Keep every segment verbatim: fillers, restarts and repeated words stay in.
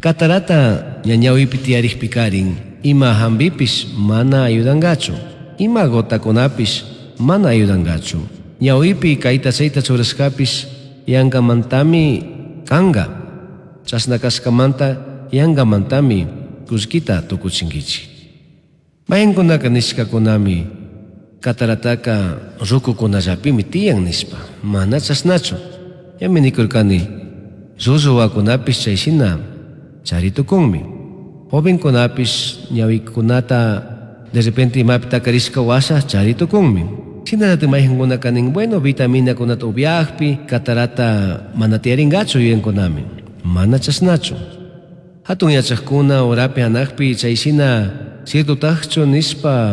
Catarata ña ñawipi tiyarikpikarin ima hampipish mana ayudangachu. Ima gotakunapish mana ayudangachu. Ñawipi kayta chayta churashkapish yankamantami kanka. Chashna kashkamanta yankamantami kullkita tukuchinkichik. Mayqinkunaka nishkakunami katarataka rukukunallapimi tiyan nishpa, mana chashnachu. Ñami nikurkani llullu wawakunapish chayshina chari tukunmi. Jovenkunapish ñawikunata de repente imapi takarishka washa chari tukunmi. Shinallatak mayqinkunaka nin bueno vitaminakunata upiakpi catarata mana tiyarinkachu yuyankunami. Mana chashnachu. Hatun yachakuna urapi hanakpi chayshina ciertotakchu nishpa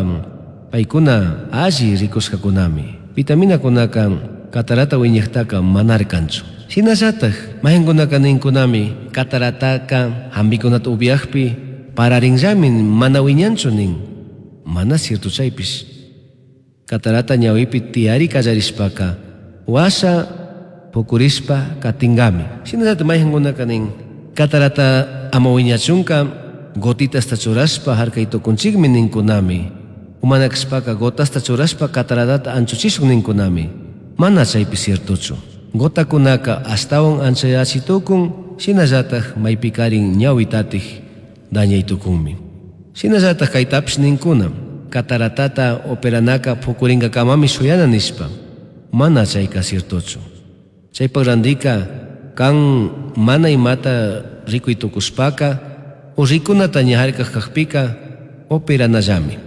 paykuna alli rikushkakunami. Vitaminakunaka catarata wiñaktaka mana kanchu. Shinallatak mayqinkunaka ninkunami catarataka hampikunata upiakpi pararinllami mana wiñanchu nin. Mana cierto chaypish. Catarata ñawipi tiyari kallarishpaka washa pukurishpa katinkami. Shinallatak mayqinkunaka nin catarata ama wiñachunka gotitasta churashpa harkay tukunchikmi ninkunami. Umana kashpaka gotasta churashpa cataratata anchuchishun ninkunami. Mana chaypi ciertochu. Gotakunaka ashtawan anchayachi tukun, shinallatak maypikarin ñawitatik dañay tukunmi. Shinallatak kaytapish ninkuna, cataratata operanaka pukurinkakamami shuyana nishpa. Mana chayka ciertochu. Chaypak randika kan mana imata rikuy tukushpaka o rikunata ña harkak kakpika operanallami.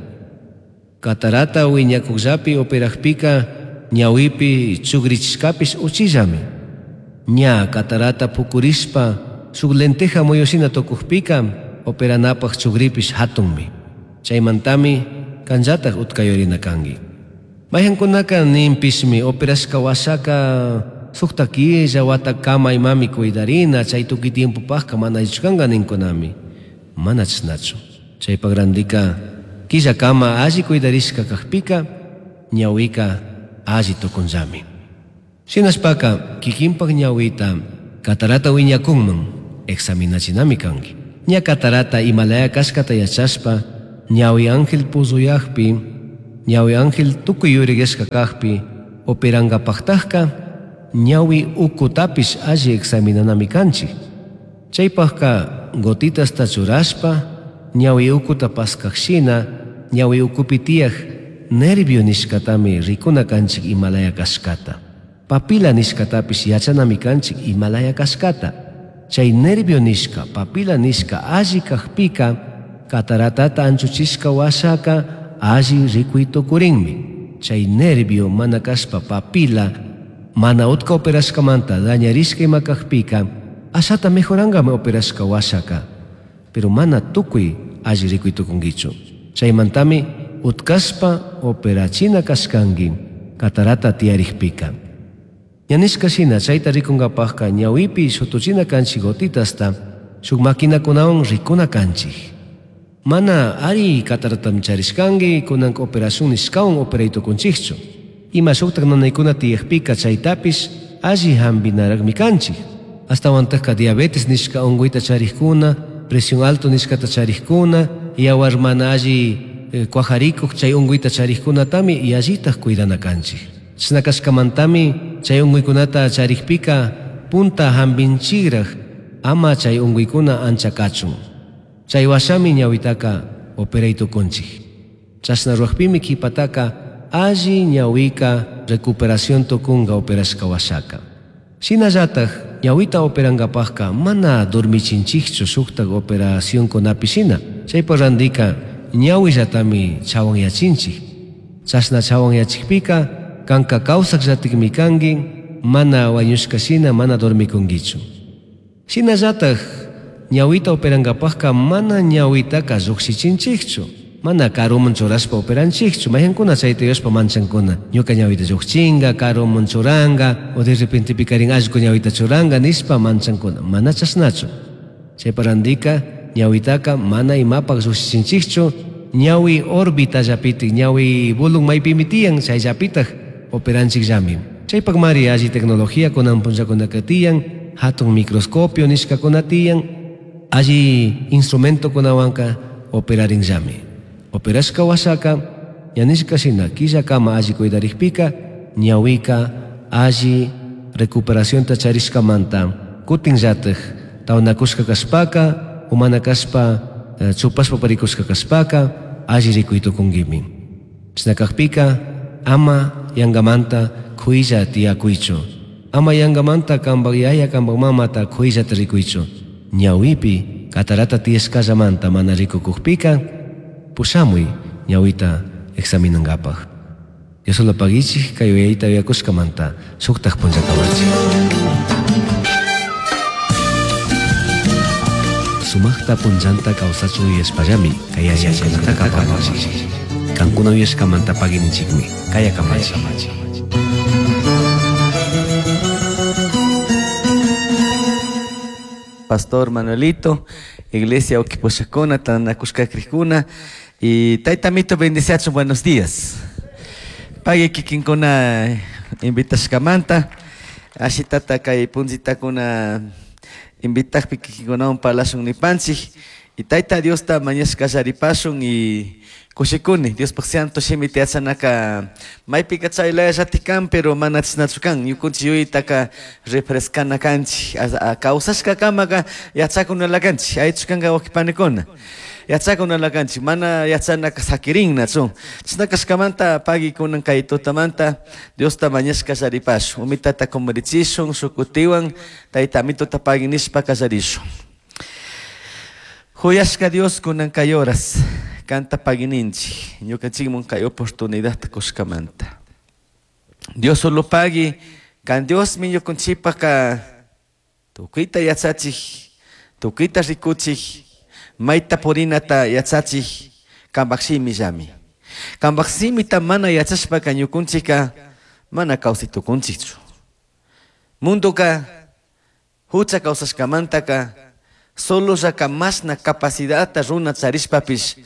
Catarata wiñakukllapi operakpika ñawipi chugrichishkapish uchillami. Ña catarata pukurishpa shuk lenteja muyushina tukukpika operanapak chugripish hatunmi. Chaymantami kanllatak utkayurina kanki. Mayqinkunaka ninpishmi operashka washaka sukta killa watakama imami cuidarina chay tukuy tiempopakka mana allichu ninkunami. Mana chashnachu. Chaypak randika killakama alli cuidarishka kakpika ñawika alli tukunllami. Shinashpaka kikinpak ñawita catarata wiñakunman examinachinami kanki. Ña catarata imalaya kashkata yachashpa ñawi ángel puzuyakpi ñawi ángel tukuy yurigueshka kakpi operankapaktakka ñawi ukutapish alli examinanami kanchik. Chaypakka gotitasta churashpa ñawi ukuta paskakshina ñawi ukupi tiyak nervio nishkatami rikuna kanchik imalaya kashkata. Papila nishkatapish yachanami kanchik imalaya kashkata. Chay nervio nishka, papila nishka alli kakpika cataratata anchuchishka washaka alli rikuy tukurinmi. Chay nervio mana kashpa papila mana utka operashkamanta dañarishka ima kakpika ashata mejorankami operashka washaka. Pero mana tukuy alli rikuy tukunkichu. Chaymantami utkashpa operachina kashkanki catarata tiyarikpika. Ña nishka shina chayta rikunkapakka ñawipi shutuchina kanchik gotitasta shuk maquinakunawan rikuna kanchik. Mana ari cataratami charishkanki kunanka operación nishkawan operay tukunchikchu. Ima shuktak nanaykuna tiyakpika chaytapish alli hampinarakmi kanchik. Ashtawantakka diabetes nishka unkuyta charikkuna, presión alto nishkata charikkuna, yawar mana alli eh, kuajarikuk chay unkuyta charikkunatami yallitak cuidana kanchik. Chashna kashkamantami chay unkuykunata charikpika punta hampinchikrak ama chay unkuykuna ancha kachun. Chay washami ñawitaka operay tukunchik. Chashna rurakpimi kipataka alli ñawika recuperación tukunka operashka washaka. Shinallatak ñawita operankapakka mana dormichinchikchu shuktak operacionkunapi shina. Chaypak randika ñawillatami chawanyachinchik. Chashna chawanyachikpika kanka kawsakllatikmi kanki mana wañushka shina mana dormikunkichu. Shinallatak ñawita operankapakka mana ñawitaka llukshichinchikchu. Mana karuman churashpa operanchikchu. Mayqankuna chayta yuyashpa manchankuna. Ñuka ñawita llukchinka, karuman churanka, o de repente pikarin allku ñawita churanka nishpa manchankuna. Mana chashnachu. Chaypa randika ñawitaka mana imapak llukshichinchikchu. Ñawi orbitallapitik, ñawi bulun maypimi tiyan, chayllapitak operanchikllami. Chaypakmari alli tecnología kunan punllakunaka tiyan, hatun microscopio nishkakuna tiyan, Alli instrumentokunawanka operarinllami. Operashka washaka ñanishka shina killakama alli cuidarikpika ñawika alli recuperacionta charishkamanta kutinllatik tawnakushka kashpaka umana kashpa chupashpa parikushka kashpaka alli rikuy tukunkimi. Chashna kakpika ama yangamanta kuylla tiyakuychu. Ama yangamanta kanpak yaya kanpak mamata kuyllata rikuychu. Ñawipi catarata tiyashkallamanta mana rikukukpika pushamuy ñawita examinankapaj. Dios lo pagichik kay uyayta uyakushkamanta shuktak punllakamachik. Sumaqta punllanta kawsachun yuyashpallami kay yachaykunata kapanchik. Kankuna uyashkamanta pagininchikmi kayakamachi. Pastor Manuelito, Iglesia Oquiposhakuna, Tanakushkakrikuna y Taitamito bendiciacho, buenos días. Pague kikinkuna invitashkamanta, ashitata kay punzitakuna invitakpi kikinkunawan parlashun nipanchik y Taita Diosta mañashka kasharipashun y kushikuni Diospaj santo shimi tiyachanaka maypika chaylayallatikan pero mana chashnachu kan ñukunchik yuyaytaka refrescana kanchik kawsashkakamaka yachakunala kanchik aychu kanka wawqipanikuna yachakunala kanchik mana yachanaka sakirinnachu chashna kashkamanta pagui kunan kay tutamanta Diosta mañashka kasharipashun umitata kumurichishun shukutiwan Tayta Amituta pagui nishpa kasharishun. Huyashka Dios kunan kay horas kanta pagininchik ñukanchikmun kay oportunidad kushkamanta. Dios solo pagui kan Diosmi ñukanchikpaka tukuyta yachachik tukuyta rikuchik mayta purinata yachachik kanpak shimillami. Kanpak shimita mana yachashpaka ñukanchikka mana kawsay tukunchikchu. Mundoka hucha kawsashkamantaka solo llaka mashna capacidadta runa charishpapish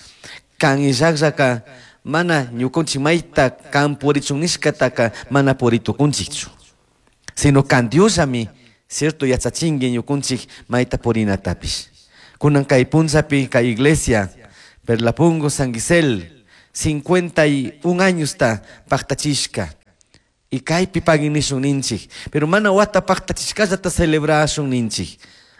kan illakllaka mana ñukanchik mayta kan purichun nishkataka mana puritukunchikchu. Sino kan Diosllami cierto yachachinki ñukanchik mayta purinatapish. Kunan kay punllapi kay iglesia Perlapungo San Gisel cincuenta y un añosta paktachishka y kaypi paginishun ninchik pero mana wata paktachishkallata celebrashun ninchik.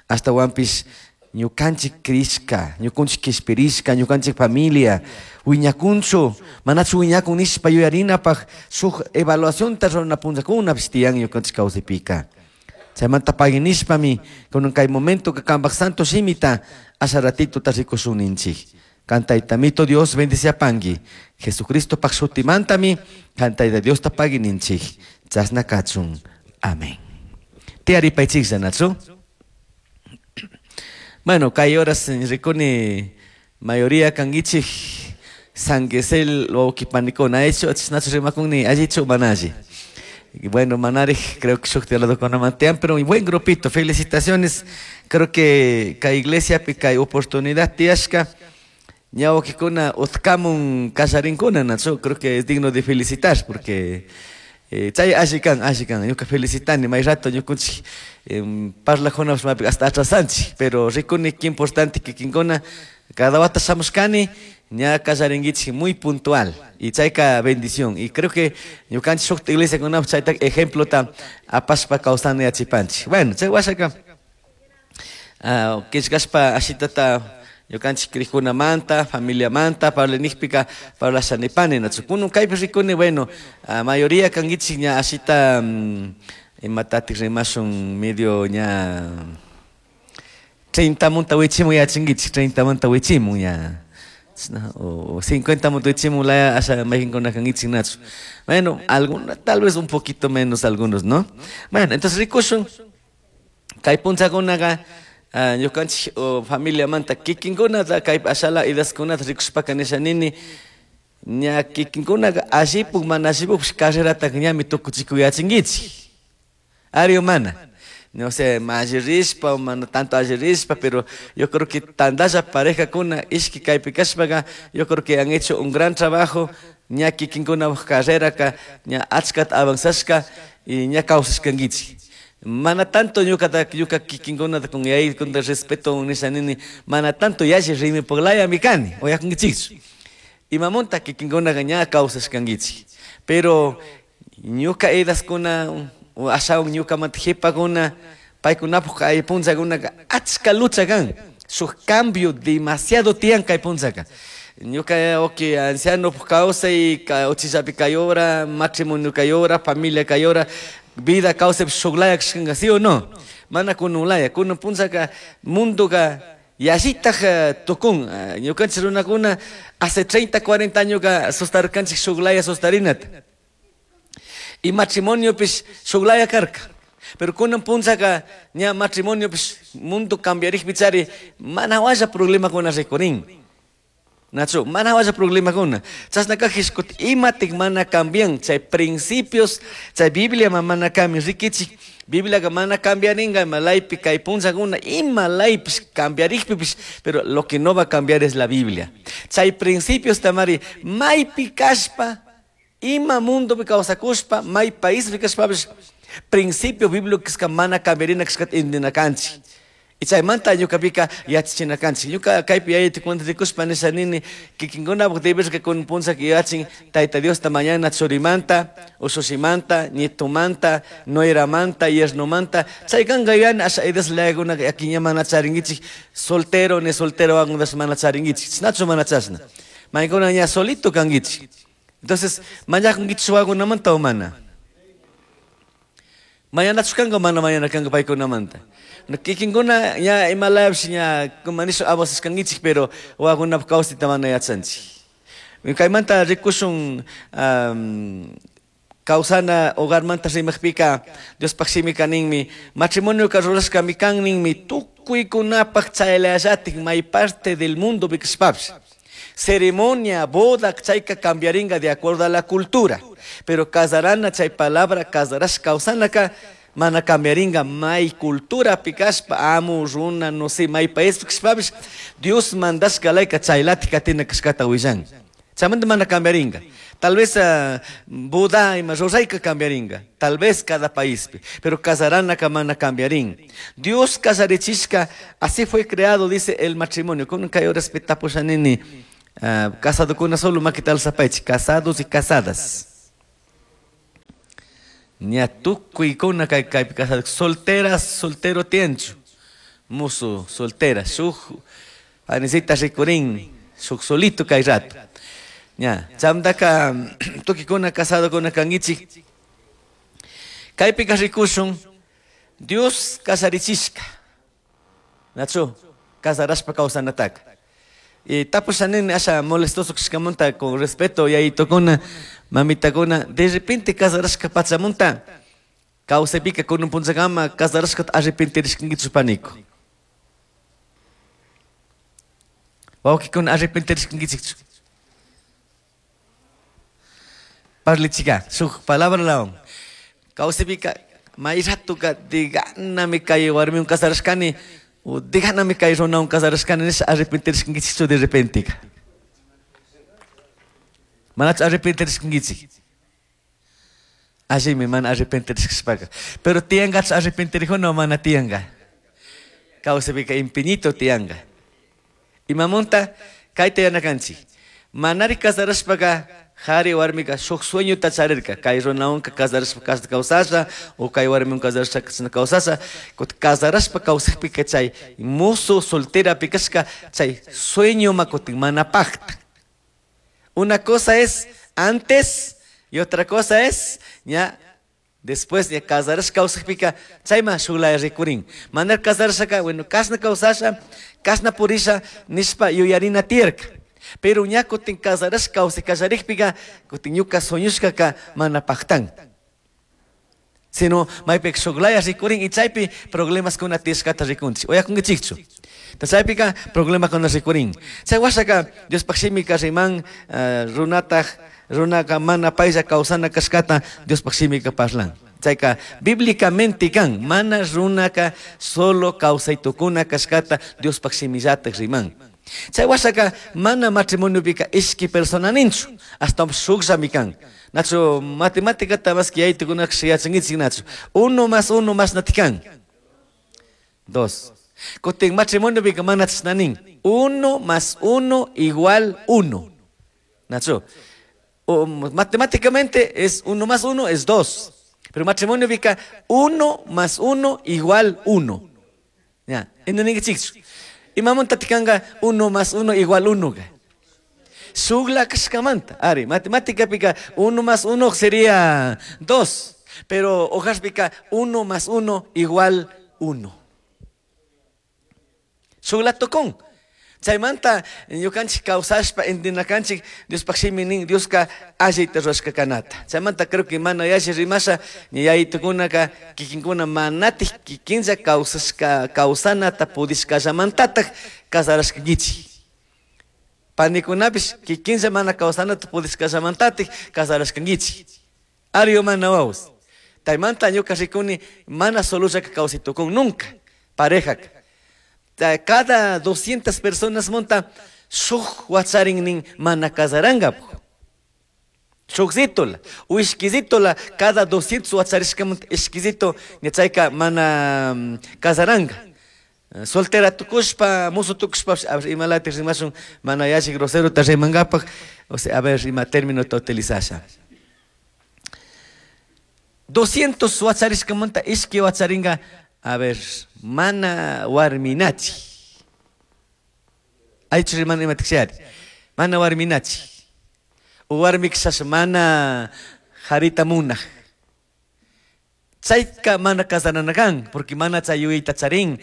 Hasta wampish ñukanchik krishka, ñukanchik kishpirishka, ñukanchik familia, wiñakunchu, manachu wiñakun nishpa yuyarinapaj shuk evaluacionta rurana punllakunapish tiyan ñukanchik kawsaypika. Chaymanta paginishpami kunan kay momento que kanpak santo shimita asha ratituta rikushun ninchik. Kan Taytamito Dios bendiciapanki. Jesucristo pak shutimantami kan Tayta Diosta pagininchik. Chashna kachun. Amén. Tiyaripaychik llanachu. Bueno, kay horas rikuni mayoría kangichik San Gisel wawqipanikuna hecho chashnachu rimakunni allichu mana alli. Bueno, manarij creo que shuk tiyaladokuna pero un buen grupito, felicitaciones. Creo que kay iglesia pi kay oportunidad tiyashka ñawqikuna utkamun kallarinkuna nachu, creo que es digno de felicitar porque eh, chay alli kan, alli kan, ñuka felicitani may rato ñukunchik parlajuna hasta atrasanchik, pero rikuni qué importante que kinkuna cada wata shamushkani ña kallarinkichik muy puntual y chayka bendición y creo que ñukanchik shuk iglesia kuna chayta ejemplota apashpa kawsana yachipanchik. Bueno, chay washaka killkashpa ashitata ñukanchik krikkunamanta, familiamanta, parlanijpika parlashanipani nachu. Kunun kaypi rikuni, bueno, mayoría kankichik ña ashita imatatik rimashun medio ña treinta munta wichimun yachinkichik, treinta munta wichimun ña o cincuenta munta wichimun laya asha mayqinkuna kankichik nachu. Bueno, algunos, tal vez un poquito menos algunos, ¿no? Bueno, entonces rikushun kay punchakunaka ñukanchik familiamanta kikinkunata kay ashala idaskunata rikushpaka nishanini ña kikinkunaka allipuk mana allipukpish carrerataka ñami tukuchikuyachinkichik. Ari o mana. No sé, alli rishpa o mana tanto alli rishpa, pero yo creo que tandalla pareja kuna ishki kaypi kashpaka, yo creo que han hecho un gran trabajo ña kikinkuna carreraka ña achkata avanzashka y ña kawsashkankichik. Mana tanto ñuka ñuka kikinkunata con yay con respeto nisha nini mana tanto yalli rimipaqlaya mi kani uyakunkichikchu. Imamunta kikinkunaqa ña kawsashkankichik. Pero ñuka edaskuna ashawan ñukamanta qhipakuna paykunapaq kay punchakunaka achka lucha kan. Shuk cambio demasiado tiyan kay punchaka. Ñuka okay anciano kawsay uchillapi kay hora, matrimonio kay hora, familia kay hora, vida kawsaypi shuklaya kashkanka, ¿sí o no? Mana kununlaya, kunun punchaka mundoka yallitaq tukun. Ñukanchik runakuna hace treinta, cuarenta añoka sustarkanchik shuklaya sustarinata. Y matrimoniopish shuklaya karka. Pero kunan punchaka ña matrimoniopish mundo cambiarikpi chari mana walla problemakuna rikurin. Nacho, mana walla problemakuna. Chashna kajpish imatik mana cambian, chay principios, chay Biblia mana cambian, rikichik, Bibliaka mana cambiaringa, ima laypi kay punchakuna, ima laypish cambiarikpipish, pero lo que no va a cambiar es la Biblia. Chay principios tamari, maypi kashpa, ima mundopi kawsakushpa, may paispi kashpapish, principio bíblico mana cambiarina kashkata intindina kanchik. Y chaymanta ñukapika yachachina kanchik. Ñuka kaypi yayaytukunata rikushpa nisha nini kikinkunapaq deberka kun punchaka yachin Tayta Diosta mañana churimanta, usushimanta, nietomanta, nueramanta, yernomanta. Chay kanka yuyani asha edas layakunaka yakiña mana charinkichik, soltero ni soltero wakunatash mana charinkichik. Chashnachu mana chashna. Maykuna ña solito kankichik. Entonces, mañakunkichik wawakunamanta o mana? Mañanachu kanka o mana mañana kanka paykunamanta? Kikinkuna ña imalayapish ña como nishu abusashkankichik, pero wawakunapaq kawsayta mana yachanchik. Kaymanta rikushun um, kawsana hogarmanta rimaqpika Diospaq shimika ninmi matrimonioka rurashkami kan ninmi tukuykunapaq chaylallatik may parte del mundo kashpapish. Ceremonia, boda, chayka cambiaringa de acuerdo a la cultura. Pero casarana, chay palabra, casarash kawsanaka, mana cambiaringa may cultura pikashpa, amu, runa, no sé, may país kashpapish, Dios mandashka layka chaylatik katina kashkata willan. Chaymanta mana cambiaringa. Tal vez uh, boda ima rurayka cambiaringa. Tal vez cada país, pero casaranaka mana cambiarín. Dios casarichishka, así fue creado, dice el matrimonio. Kun kay respetapusha nini, uh, casado kuna solo makita alzapaychik, casados y casadas. Ña tukuykuna kay kaypi casado, solteras, soltero tiyanchu. Musu, soltera, shuk panisita rikurin, shuk solito kay rato. Ña, chamtaka tukikuna casadokuna kankichik. Kaypika rikushun, Dios kasarichishka. Nachu, kasarashpa kawsanataka. Y tapusha nini asha molestoso kashkamanta con respeto yayitukuna, mamitakuna, de repente kasarashka pachamunta, kawsaypika kunun punchakama kasarashkata arrepentirishkankichu paniku. Wawqikuna arrepentirishkankichikchu. Parlichika, shuk palabra lawan. Kawsaypika may ratuka diganami kay warmiwan kasarashkani, o diganami kay runawan kasarashkani nisha arrepentirishkankichikchu de repente. Manachu arrepentirishkankichik. Allimi mana arrepentirishkashpaka. Pero tiyankachu arrepentirijuna o mana tiyanka. Kawsaypika infinito tiyanka. Imamunta kayta yanakanchik. Manari kasarashpaka Hari warmika shuk sueñota charirka, kay runawanka kasarashpa kawsasha, o kay warmiwan kasarashpa kawsasha, kasarashpa kawsakpika chay musu soltera pikashka chay sueño makutin mana pakta. Una cosa es antes y otra cosa es ya después de kasarashpa kawsakpika chayma shuklaya rikurin. Manar kasarashaka, bueno, kashna kawsasha, kashna purisha nishpa yuyarina tiyarka. Pero ña kutin kasarashka kawsay kallarikpika kutin ñuka sueñushkaka mana paktan. Sino maypika shuklaya rikurin y chaypi problemas kuna tiyashkata rikunchik. Uyakunkichikchu. Chaypika problemakuna rikurin. Chay washaka Diospaq shimika riman uh, runataj runaka mana paylla kawsana kashkata Diospaq shimika parlan. Chayka bíblicamente kan mana runaka solo kawsaytukuna kashkata Diospaq shimillataj riman. Chay wasaka mana matrimonio pika ishki persona ninchu, hasta shukllami kan. Nacho matemática más que yaytukuna yachankichik nacho. Uno más uno más natikan. Dos. Kutin matrimonio pika mana chashnanin. Uno más uno igual uno. Nacho. O, matemáticamente es uno más uno es dos. Pero matrimonio pika uno más uno igual uno. Ya, entonces imamunta tikanga uno más uno igual uno. Shugla kashkamanta. Ari, matemática pica uno más uno sería dos. Pero hojas pica uno más uno igual uno. Shugla tocón. Chaymanta ñukanchik kawsashpa intinakanchik Diospaq shimi nin Dioska allita rurashka kanata. Chaymanta creo que mana yalli rimasha yayitukunaka kikinkuna manatik kikinlla kawsashka kawsanata pudishkallamantatak kasarashkankichik. Panikunapish kikinlla mana kawsanata pudishkallamantatik kasarashkankichik. Ari o mana wawas. Chaymanta ñuka rikuni mana solollaka kawsaytukun nunca parejaka. Cada doscientas personas monta shuk wacharin nin mana kasaranga. Shukzitola, u ishkizitola, cada doscientos wacharishka monta ishkizito ñachayka mana kasaranga. Soltera tukushpa, musu tukushpa, a ver, imalati rimashun mana yalli grosero ta rimangapaj, o sea, a ver, ima término ta utilizasha. doscientos wacharishka monta ishki wacharinga, a ver, mana warminachi. Aychu rimana imatikshari. Mana warminachi. U warmikshas mana harita munaj. Chayka mana kasarana kan, porque mana chayuyta charin,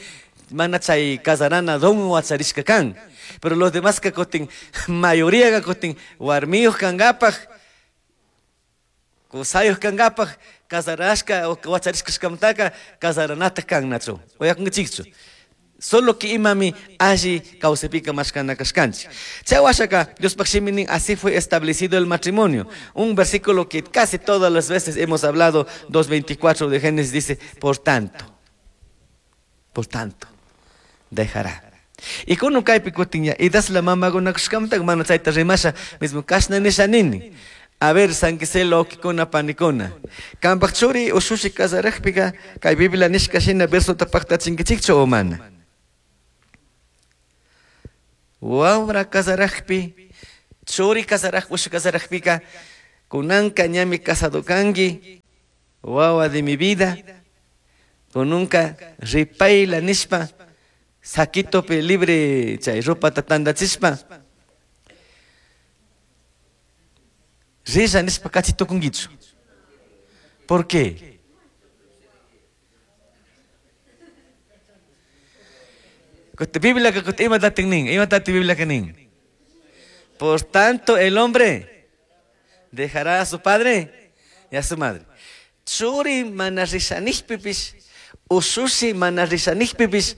mana chay kasarana don wacharishka kan. Pero los demás ka kutin, mayoría ka kutin, warmiyuq kankapaj, kusayuq kankapaj, kasarashka o wacharishkashkamantaka kasaranata kan nachu. Uyakunkichikchu. Solo que imami alli kawsaypika mashkana kashkanchik. Chay washaka Diospaq shimi nin así fue establecido el matrimonio. Un versículo que casi todas las veces hemos hablado, dos veinticuatro de Génesis dice, por tanto, por tanto, dejará. Y kuno kaypi kutin ya, idas la mamakunakushkamanta mana chayta rimasha, mismo kashna nisha nini. A ver, sanquiselo okikuna panikuna. Kanpaq churi ushushi kasarajpika kay Biblia nishka shina verso tapaqtachinkichikchu o mana. Wawra kasarajpi, churi kasaraj ushu kasarajpika, kunanka ñami casado kanki, wawa de mi vida, kununka ripayla nishpa, saquitopi libre chay ropata tandachispa, risha nishpa kachitukunkichu. ¿Por qué? Biblia que ima tatin nin, ima tati Biblia que nin. Por tanto, el hombre dejará a su padre y a su madre. Churi mana rishanijpipis, ushushi mana rishanijpipis,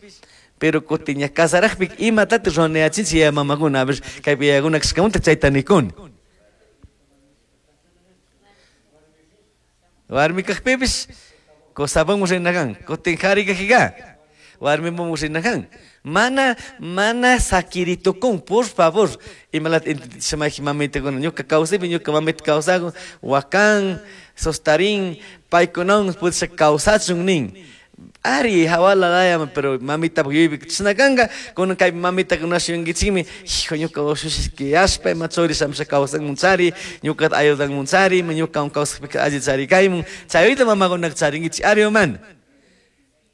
pero kutiña kasarajpik ima tati ruwanayachinchik ya mamakuna, a ver, kaypi yayakuna kashkamunta chayta nikuni. Warmi kajpipis, kusapanmu rinakan, kutin qhari kajika, warmimun rinakan. Mana, mana sakiritukun, por favor. Imalat shamaki mamitakuna, ñuka kawsaypi, ñuka mamita kawsakun, wakan, sostarin, paykunawan pudisha kawsachun nin. Ari, hawala laya, pero mamita yuyaypi chashna kunan kay mamita kunashuyunkichikmi, hijo, ñuka ushushishki yashpa, ima churi shamusha kawsanmunchari, ñukata ayudanmunchari, ñukawan kawsakpika alli charikaymun, chayuyta mamakunaka charinkichik, ari o mana.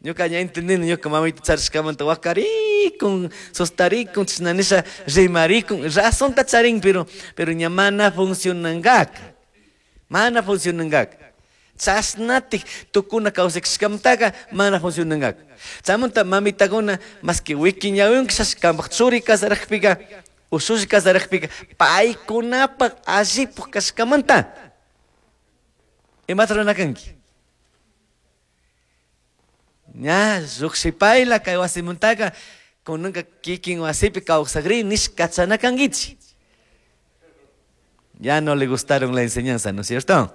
Ñuka ña entendini, ñuka mamita charishkamanta wakarikun, sostarikun, chashna nisha rimarikun, razonta charin, pero, pero ña mana funcionankaka, mana funcionankaka. Chashnatik tukuna kawsakashkamantaka mana funcionankaka. Chaymanta mamitakuna más que wikiñawinka kanpaq churi kasarajpika, ushushi kasarajpika, paykunapaq allipaq kashkamanta. Imata ruranakanki? Ña lluqshipayla kay wasimantaka kunanka kikin wasipi kawsakri nish kachanakankichik. Ya no le gustaron la enseñanza, ¿no es cierto?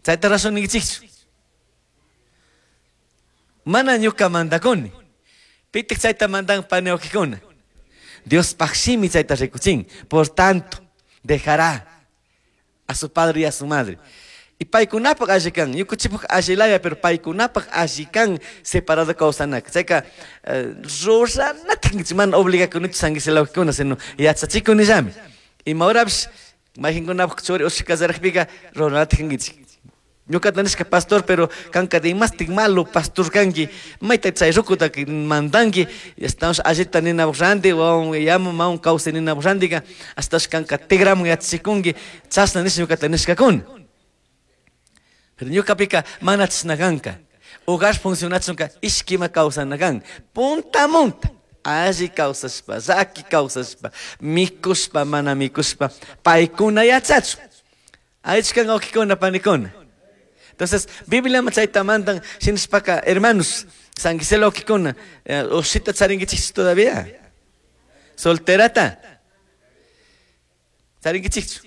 Chayta razón ninkichikchu. Mana ñuka mandakuni. Pitik chayta mandan pani wawqikuna. Dios pajshimi chayta rikuchin. Por tanto, dejará a su padre y a su madre. Y paykunapaq alli kan, ñukanchikpaq allilaya, pero paykunapaq alli kan separado kawsanaka. Chayka ruranatik mana obligakunichu sanguiselawkuna, sino yachachikunillami. Ima horapish mayqinkunapaq churi ushi casarajpika ruranatik kankichik. Ñuqata nishka pastor, pero kanka dimastik malo pastor kanki, mayta chay rukuta mandanki, estamos allita ninapaq ranti, wawan yamu mawan kawsay ninapaq rantika, hasta kanka tigramun yachachikunki, chashna nisha ñuqata nishkakuna. Pero ñuqapika mana chashna kanka. Hogar funcionachunka ishkima kawsana kan. Punta munta. Alli kawsashpa, llaki kawsashpa, mikushpa, mana mikushpa, paykuna yachachun. Aychkan wawqikuna panikuna. Entonces, Biblia chayta mandan shinashpaka, hermanos, sanguiselo wawqikuna, ushita charinkichikchu todavía. Solterata. Charinkichikchu.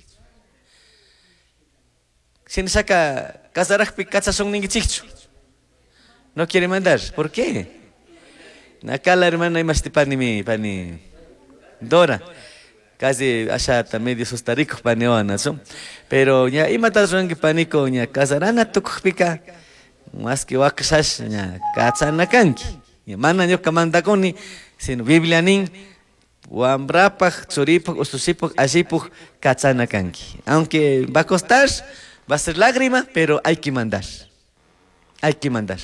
Shinashaka casarajpi kachashun ninkichikchu. No quiere mandar. ¿Por qué? Acá la hermana imashti pani mi, pani Dora. Casi allá medio sustarico pani oana, ¿no? Pero ya imata ruranki paniko ña casarana tukujpika más que wakashash ña kachana kanki. Mana ñuka mandakuni, sino Biblia nin wambrapaj, churipaj, usushipaj, allipaj kachana kanki. Aunque va a costar, va a ser lágrima, pero hay que mandar. Hay que mandar.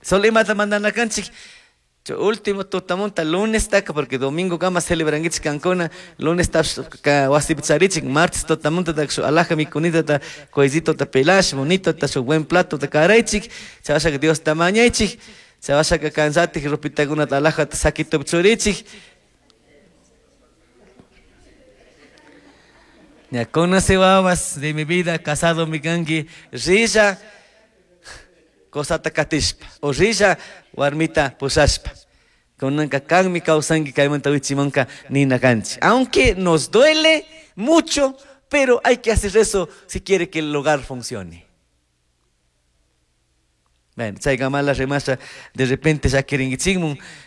Solo imata mandana kanchik. Último tutamunta lunes taka, porque domingo kama celebrankichik kankuna, lunes ta wasipi charichik, martes tutamunta ta shu alaja mikunita ta koizito ta pelash, bonito ta su buen plato ta karaychik, chawashaka Dios ta mañaychik, chawashaka kansatik ropitakuna ta alaja ta sakito churichik. Ya conoce wawas de mi vida, casado mi kanki, rilla kosata katishpa, o rilla warmita pusashpa. Kunanka kanmi kawsanki kaymanta wichimanka nina kanchi. Aunque nos duele mucho, pero hay que hacer eso si quiere que el hogar funcione. Bueno, chayka mala rimasha, de repente ya quieren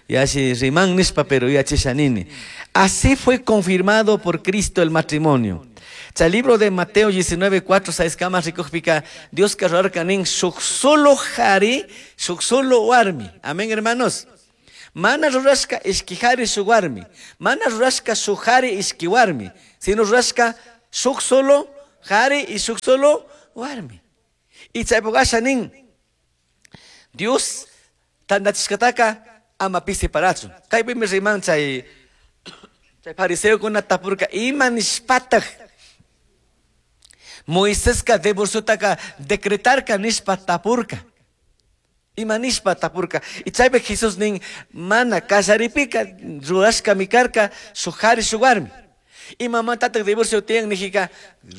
y así riman nishpa, pero ya chishanini. Así fue confirmado por Cristo el matrimonio. El libro de Mateo diecinueve, cuatro, seis, kama rikujpika, Dios karrarka nin shuk solo jari, shuk solo warmi. Amén, hermanos. Mana rurashka ishki jari shuk warmi. Mana rurashka shuk jari ishki warmi. Sino rurashka shuk solo jari y shuk solo warmi. Y chaypukasha nin Dios tandachishkataka ama pi separachun. Kaypimi riman chay chay fariseokuna tapurka ima nishpataj Moiseska divorciotaka decretarka nishpa tapurka. Ima nishpa tapurka. Y chaypi Jesús nin mana kasharipika rurashka mikarka shuk jari shuk warmi. Imamantataq divorcio tiyan nijika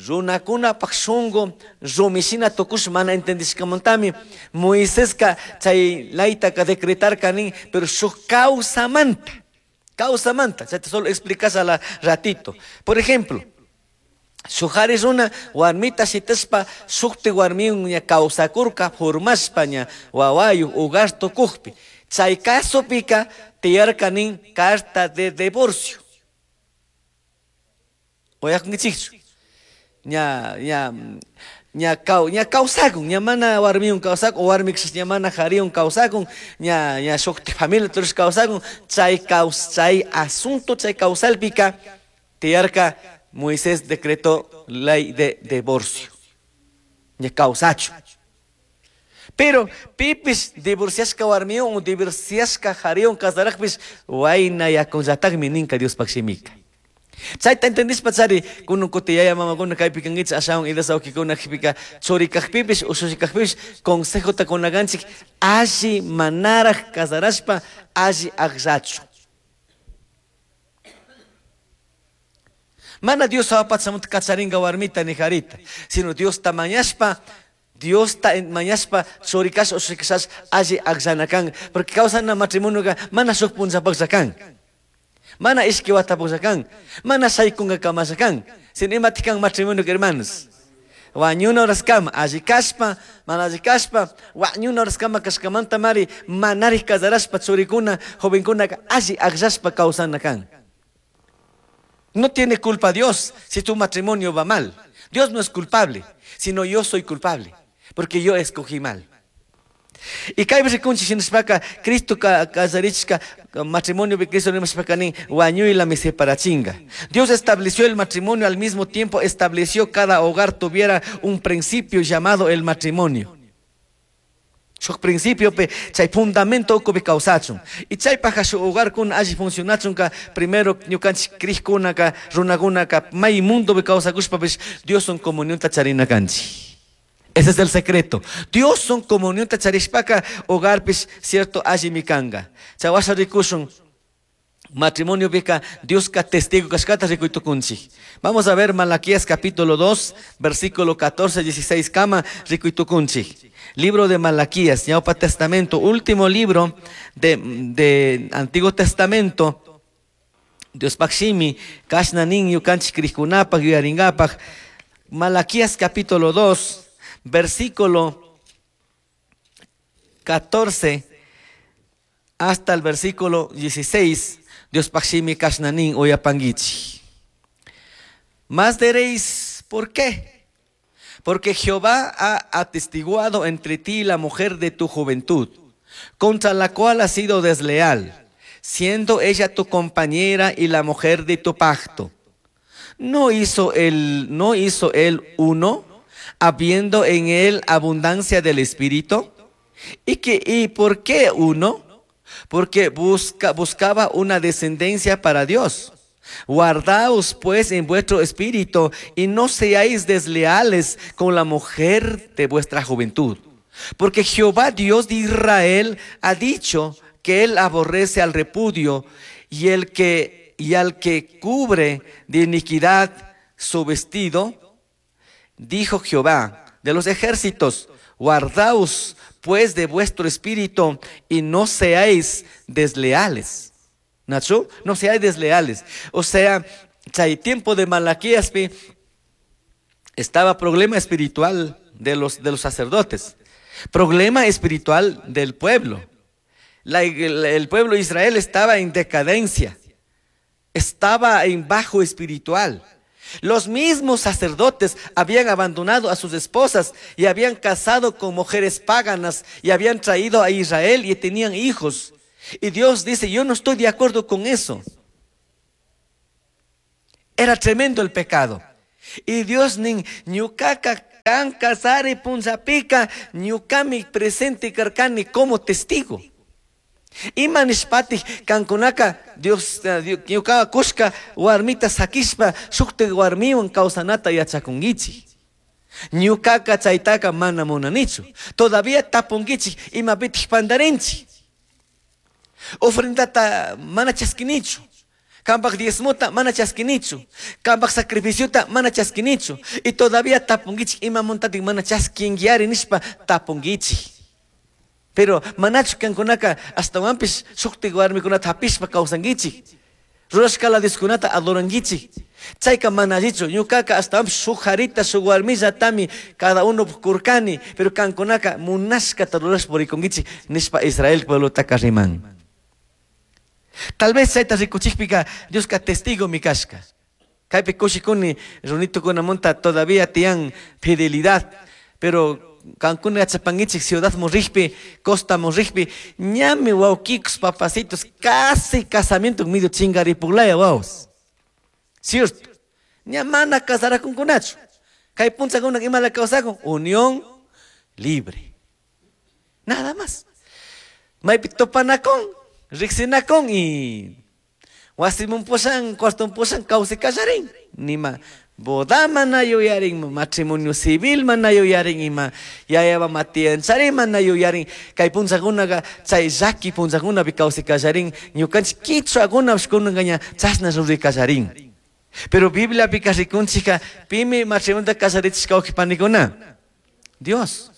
runakunapaq shunqu rumishina tukush mana entendishkamantami Moiseska chay laytaka decretarka nin, pero shuk kawsamanta. Kawsamanta. Chayta solo explicas a la ratito. Por ejemplo, shuk jari runa warmita shitashpa shukti warmiwan ña kawsakurka formashpa ña wawayuq hogar tukujpi. Chay kasupika tiyarka nin carta de divorcio. Oyakunkichikchu. Ña ña ña kaw ña kawsakun, ña mana warmiwan kawsakun, o warmikshis ña mana jariwan kawsakun, ña ña shukti familia turush kawsakun, chay kaws chay asunto chay kawsalpika tiyarka Moisés decretó ley de divorcio. Ña kawsachu. Pero pipis divorciashka warmiwan o divorciashka jariwan kasarajpis wayna yakunllatakmi ninka Diospaq shimika. Chayta entendishpa chari kunun kuti yaya mamakuna kaypi kankichik ashawan idas wawqikuna qhipika churi kaqpipis ushushi kaqpipis consejota kunakanchik alli manaraj kasarashpa alli akllachu. Mana Dios apachamunta kacharinka warmita ni jarita, sino Dios ta mañashpa, Dios ta mañashpa churi kash ushushi kashash alli akllana kan, porque kawsana matrimonioka mana shuk punllapaqlla kan. Mana ishki watapaqlla kan, mana shaykunka kamasha kan, sino imati kan matrimonio hermanos. Wañuna horaskama alli kashpa mana alli kashpa wañuna horaskama kashkamanta mari manari casarashpa churikuna jovenkunaka alli akllashpa kawsana kan. No tiene culpa Dios si tu matrimonio va mal. Dios no es culpable, sino yo soy culpable, porque yo escogí mal. Y kaypi rikunchik shinashpaka Cristo kasarichka matrimonio Cristo rimashpaka nin wañuylami separachinga. Dios estableció el matrimonio, al mismo tiempo estableció cada hogar tuviera un principio llamado el matrimonio. Shuk principio pe chay fundamento ukupi kawsachun. Y chaypajka shuk hogarkuna alli funcionachunka primero ñukanchik crijkunaka runakunaka may mundopi kawsakushpapish Dioswan comunionta charina kanchik. Ese es el secreto. Dioswan comunionta charishpaka hogarpish cierto allimi kanga. Chay washa rikushun matrimonio pika Dioska testigo kashkata rikuytukunchik. Vamos a ver Malaquías capítulo dos, versículo catorce, dieciséis kama rikuytukunchik. Libro de Malaquías, Ñaupa Testamento, último libro de, de Antiguo Testamento. Diospaj shimi, kashna nin ñukanchik crijkunapaj, yuyaringapaj. Malaquías capítulo dos, versículo catorce hasta el versículo dieciséis. Diospaj shimi kashna nin uyapanguichi. Más diréis, ¿por qué? Porque Jehová ha atestiguado entre ti la mujer de tu juventud, contra la cual has sido desleal, siendo ella tu compañera y la mujer de tu pacto. ¿No hizo él, no hizo él uno, habiendo en él abundancia del Espíritu? ¿Y, que, y por qué uno? Porque busca, buscaba una descendencia para Dios. Guardaos pues en vuestro espíritu y no seáis desleales con la mujer de vuestra juventud. Porque Jehová Dios de Israel ha dicho que él aborrece al repudio y, el que, y al que cubre de iniquidad su vestido. Dijo Jehová de los ejércitos, guardaos pues de vuestro espíritu y no seáis desleales. Nacho, no seáis desleales. O sea, chay tiempo de Malaquías estaba problema espiritual de los, de los sacerdotes, problema espiritual del pueblo. La, el, el pueblo de Israel estaba en decadencia, estaba en bajo espiritual. Los mismos sacerdotes habían abandonado a sus esposas y habían casado con mujeres paganas y habían traído a Israel y tenían hijos. Y Dios dice, yo no estoy de acuerdo con eso. Era tremendo el pecado. Y Dios nin ñukaka kan kasari punzapika ñukami presente karkani como testigo. Ima nishpatij kankunaka Dios ñuka kushka warmita sakishpa shukti warmiwan kawsanata yachakunkichik. Ñukaka chaytaka mana munanichu. Todavía tapunkichik imapitik pandarinchik. Ofrendata mana chaskinichu. Kampak diezmota mana chaskinichu. Kampak sacrificiota mana chaskinichu. Y todavía tapunkichik imamuntatik mana chaskinkiari nishpa tapunkichik. Pero manachu kankunaka astawanpish shukti warmikunata hapishpa kawsankichik. Rurashkala Dioskunata adorankichik. Chayka mana allichu. Ñukaka astawanpish shuk harita shuk warmillatami cada uno kurkani. Pero kankunaka munashkata rurashpa purikunkichik nishpa Israel pueblotaka riman. Tal vez chayta rikuchikpika Dioska testigo mi kashka. Kaypi kushikuni runitukunamunta todavía tiyan fidelidad. Pero kankuna yachapankichik ciudad murrijpi, costa murrijpi, ñami wawkikus papacitos, casi casamiento medio chingaripuglaya wawas. Cierto. Ña mana casarakunkunachu. Kay punchakuna imala kawsakun, unión libre. Nada más. Maypi topanakun, riksinakun y wasimun pushan, cuarton pushan, kawsi kallarin. Nima boda mana yuyarin, matrimonio civil mana yuyarin, ima yayaba matianchari mana yuyarin. Kay punchakunaqa chay llaki punchakunapi kawsi kallarin, ñukanchik kichwakunapish kunanka chashna ruray kallarin. Pero Bibliapika rikunchikka pimi matrimonio kasarichishka wawqipanikuna? Dios.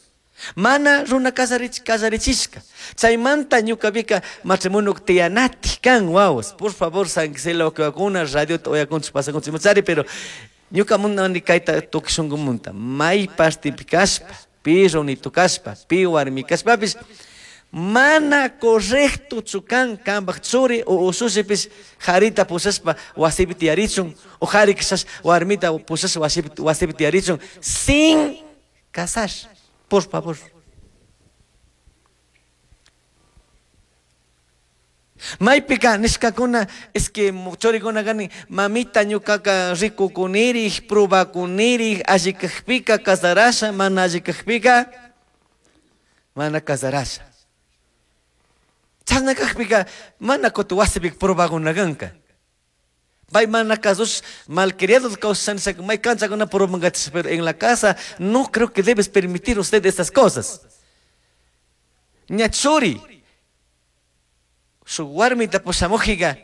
Mana runa kasarich kasarichishka. Chaymanta ñukapika matrimonio tiyanati kan wawas. Por favor, San Gisela wawqiwakuna, radiota uyakunchik pasakunchik machari, pero Ñuka munani kayta tukuy shunkumunta may partipi kashpa, pi runitu kashpa, pi warmi kashpapish mana correctochu kan kanpaj churi o ushushipish jarita pushashpa wasipi tiyarichun o jari quizás warmita pushashpa wasipi, wasipi tiyarichun sin casar, por favor. Maypika nishkakuna es que churikuna kani mamita ñukaka rikukunirij probakunirij alli kajpika casarasha mana alli kajpika mana casarasha. Chashna kajpika mana kutin wasipika probakuna kanka. Pay mana casos malcriados kawsasha nishaka may canchakuna probangachish, pero en la casa no creo que debes permitir usted esas cosas. Ña churi shuk warmita pushamujika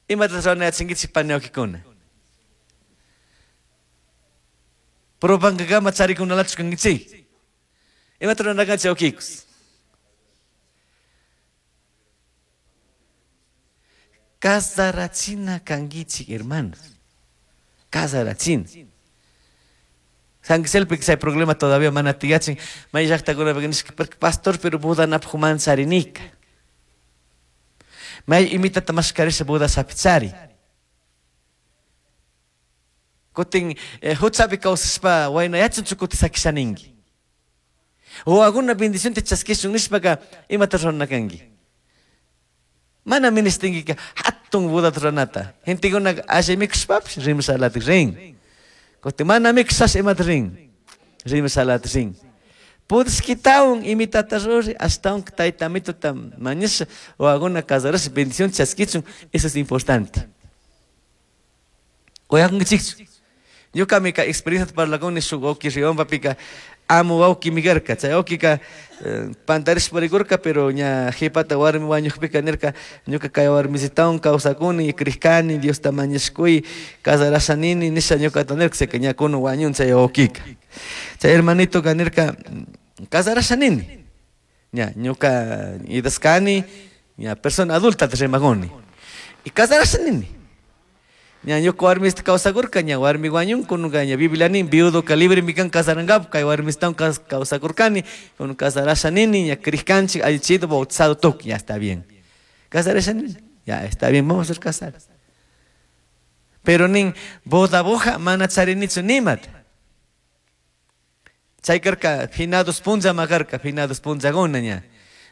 imata ruranayachinkichik paniwakikuna. Probankakama charikunalachu kankichik. Imata ruranakanchik wawkikus. Casarachina kankichik, hermanos. Casarachina. San Giselpi chay problema todavía mana tiyachin. May llaqtakunapi nishka, porque pastor, pero bodanapaj mancharinika. May imitata mashkarisha boda sapichari. Kutin, eh, huchapi kawsashpa waynayachunchu kutin sakishaninki. O alguna bendición te chaskishun nishpaka imata rurana kanki. Mana ministinkika hatun bodata ruranata. Gentekuna alli mikushpapish rimasalatik rin. Kutin mana mikushash imata rin. Rimasalatik rin. Pudishkitawan imitata ruri, ashtawan tayta amituta mañasha o alguna casarasha bendición chaskichun, eso es importante. Oyakunkichikchu. Ñukami ka experiencia parlakuni shuk wawki Riompapika amu wawki mikarka. Chay wawkika, eh, pantarishpa rikurka, pero ña jipata warmi wañukpika nirka, ñuka kay warmisitawan kawsakuni, krishkani, Diosta mañashkuy, casarasha nini, nisha ñukata nirka, seka ña kunu wañun chay wawkika. Chay hermanitoka nirka, casarasha nini. Ña, ñuka idaskani, ña persona adulta te rimakuni. Y casarasha nini. Ña ñuka warmista kawsakurka, ña warmi wañun, kunuka ña Biblia nin, viudo ka libre mikan kasarangap, kay warmistawan kas-, kawsakurkani, kunu kasarasha nini, ña krishkanchik, allichido, bautizado tuk, ya está bien. Kasarasha nini, ya está bien, vamos a ser casados. Pero nin, boda boja, mana charinichu nimat. Chay karka, finados punza makarka, finados punza gona ña.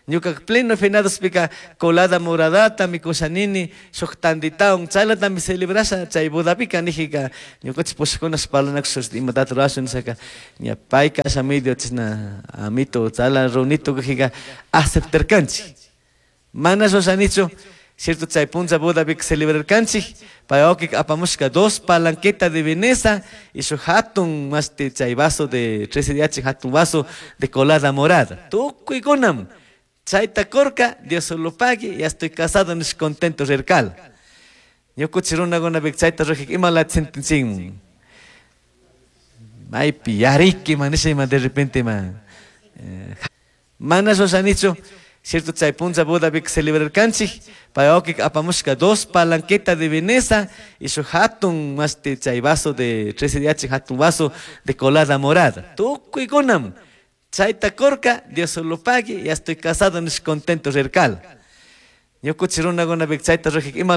Ñuka pleno finados pika colada moradata mikushanini shuk tanditaun chaylata mi celebrasha chay bodapika nijika ñukanchik pushakuna parlanakush imatata rurashun nishaka ña payka asha medio chishna amito chala runito kajika aceptarkanchik. Mana rurashanichu, cierto chay puncha bodapika celebrarkanchik pay wawkika apamushka dos palanqueta de Veneza y shuk hatun mashti chay vaso de trece D H hatun vaso de colada morada tukuykunam. Chayta korka, Dios solo pague, ya estoy casado, no estoy contento, rirkal. Ñukuchi runakunapika chayta rujik, ima lata sentencin. Maypi, yariki, man, nisha ima de repente, man. Eh, mana rurashanichu, cierto, chay puncha bodapika celebrarkanchik, pay wawkika apamushka dos palanqueta de Veneza y shuk hatun mashti chay vaso de trece D H hatun vaso de colada morada. Tukuykunam. Chayta korka, Dios solo pague, ya estoy casado, no estoy contento, rirkal. Ñukuchi runakunapika chayta rujik, ima lata